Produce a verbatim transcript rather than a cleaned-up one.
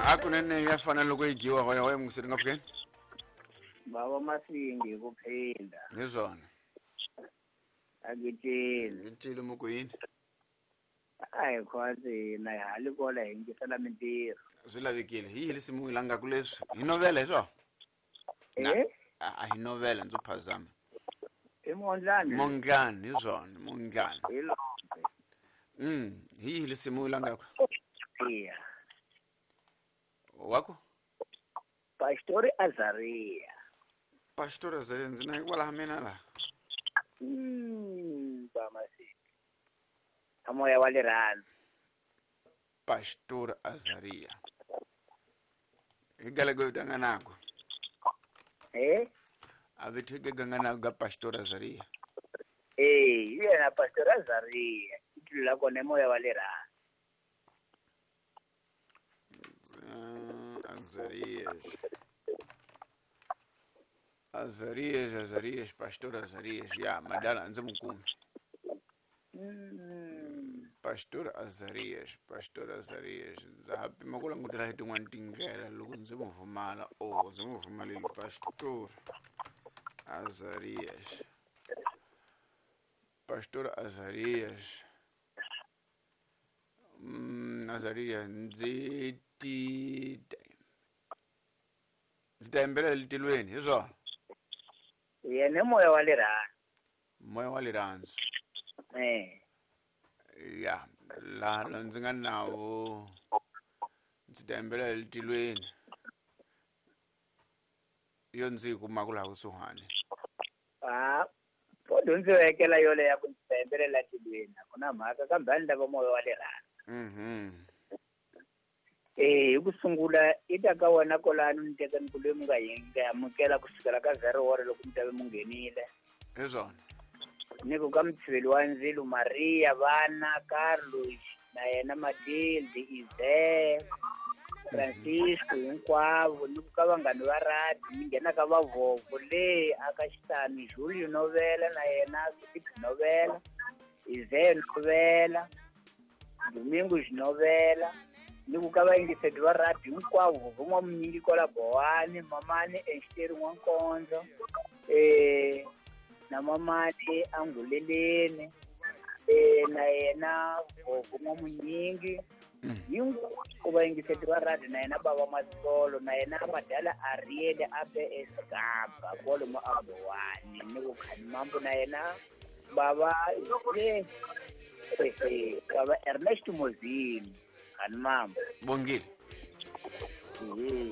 Hakunene ya fana loko yi dyiwa hoya hoya mungiseri nga fikeni. Baba Masingi ku phinda. Hi swona. Agitile. Ngitile muku yini? A hi khwatsi na hi hali kola hi yingisela mintirho. Swi lavekile. Hi yini risimu hi langaku leswi? Hi novela hi swona? Eh? A hi novela ndzo phazama. I Mondlani. Mondlani hi swona, Mondlani. Hi lombe. Mm, hi yihi risimu hi langaku? Iya. Wako? Pastori Azaria. Pastori Azaria ndzi na hikwalaho mina laha. Mm, ba Masingi. A moya wa rirhandzu. Pastor Azaria. Hi galego tanganako. Eh? A vithu gangana ga Pastor Azaria. Eh, yena Pastor Azaria. Itulu la kona moya wa rirhandzu. Uh, Azarias. Azarias, Azarias, Pastor Azarias. Ya, madala ndzi mukumi. Mm. Pastor Azarias, Pastor Azarias. Ndza ha pima ku langutela hi tin'wani tindlela loko ndzi mu vumala. Oh, ndzi mu vumalile Pastor Azarias. Pastor Azarias. Mm, Azarias ndzi ti ndzi ta yimbelela etilweni hi swona. Yena moya wa rirhandzu. Moya wa rirhandzu. Eh. Ya, laha la ndzi nga nawo ndzi ta yimbelela etilweni. Yo ndzi yi kumaka laha kusuhani. Ah, po ndzi vekela yole ya ku ndzi ta yimbelela etilweni. A ku na mhaka kambe a ni lava moya wa rirhandzu. Mhm. Eh, hi ku sungula i ta ka wena kolani ni teka ni ku loyi mi nga yi nga amukela kusukela ka zero wore loko mi ta ve mu nghenile. Hi swona. Ni ku ka mutshiveli wa ndzilo Maria, vana, Carlos, na yena Matilde, Ize, Francisco hinkwavo, ni ku ka vanghani va radi, ni nghena ka vavovo le aka Xitani, Julio Novela na yena Philip Novela, Ize Novela, Domingo Novela, ni ku ka vayingiseri va radi hinkwavo, vovo n'wamunyingi kwala Bowani, mamani Exiteri N'wankondzo, eh na mamani Anguleleni, eh na yena vovo n'wamunyingi, hinkwavo vayingiseri va radi na yena bava Matsolo, na yena madala Ariel abe Escapa kwalomu a Bowani, ni ku Khanimambo na yena bava eh eh bava Ernest Mozini. Khanimambo. Bongile. Eh.